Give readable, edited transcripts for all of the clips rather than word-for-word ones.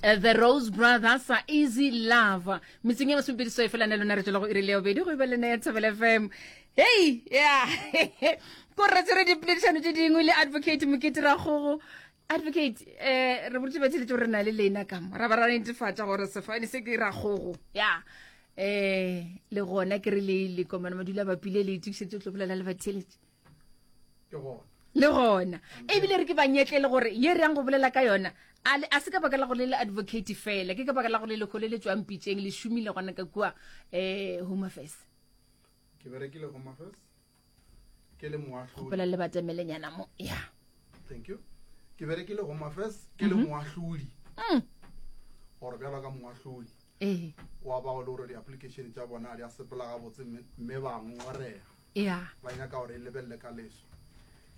Eh, the Rose Brothers, Easy Love. Metseng ya masomepedi so e fela ne lona re tšwela go iri le ya bobedi go e ba lena ya Thobela FM. Hey, yeah. Ko re tsere dipoledišano tše dingwe le Advocate Mokete Rakgogo. Advocate, eh re boletse batheletše gore re na le lena ka mo. Ra ba ra netefatša gore sefane se ke Rakgogo. Yeah. Eh le gona ke re le le komana madula bapile le itokišetše go tlo bolela le batheletše. Ke gona. Le gona. Ebile re ke ba nyetle le gore ye re yang go bolela ka yona a le a se ka baka la gore le le advocate fela, ke ka baka la gore le lekgole le tšwang pitšeng le šomile gona ka kua eh Home Affairs. Ke berekile Home Affairs ke le moahlodi. Kgopela le batamelenyana mo. Ya. Thank you. Ke berekile Home Affairs ke le mhm. moahlodi. Mm. Gore bjalo ka moahlodi. Ee. Wa ba le gore di-application tša bona di a sepela gabotse mme ba ngongorega. Ya. Ba nyaka gore e lebelele ka leso.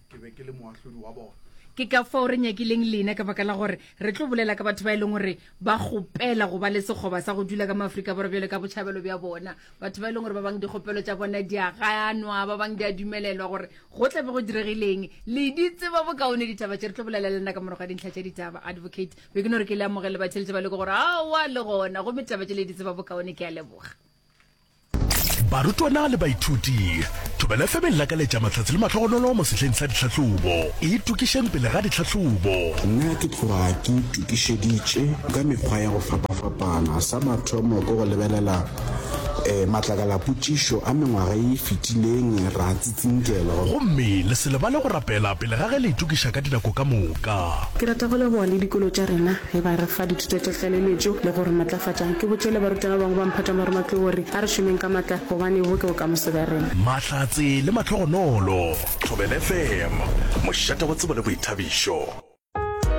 Ke be ke le moahlodi wa bona. Ke ka fao re nyakileng lena, ka baka la gore re tlo bolela ka batho ba e leng gore ba kgopela go ba le sekgoba sa go dula ka mo Afrika Borwa bjalo ka botšhabelo bja bona. Batho ba e leng gore ba bang dikgopelo tša bona di a ganwa, ba bang di a dumelelwa gore go tla be go diregileng. Le di tseba bokaone ditaba tše. Re tlo bolela le lena ka morago ga dintlha tša ditaba. Advocate, be ke no re ke le amogele batheeletši ba leko gore aowa le gona gomme taba tše le di tseba bokaone. Ke a leboga. Barutwana le baithuti, Thobela FM e lakaletša mahlatse le mahlogonolo mo sehleng sa ditlhahlobo. Itokišeng pele ga ditlhahlobo. Nna ke tloga ke itokišeditše ka mekgwa ya go fapafapana. Sa mathomo ke go lebelela matlakalapotšišo a mengwaga ye e fetileng ra tsitsinkelwa. Gomme le se lebale go rapela pele ga ge le itokiša ka dinako ka moka. Ke rata go leboga le dikolo tša rena ge ba re fa dithuto tša tlaleletšo le go re matlafatša. Ke botše le barutwana ba bangwe ba mphato wa marematlou gore a re šomeng ka matla gobane bo ke bokamoso bja rena. Mahlatse le mahlogonolo. Thobela FM, mošate wa tsebo le boithabišo.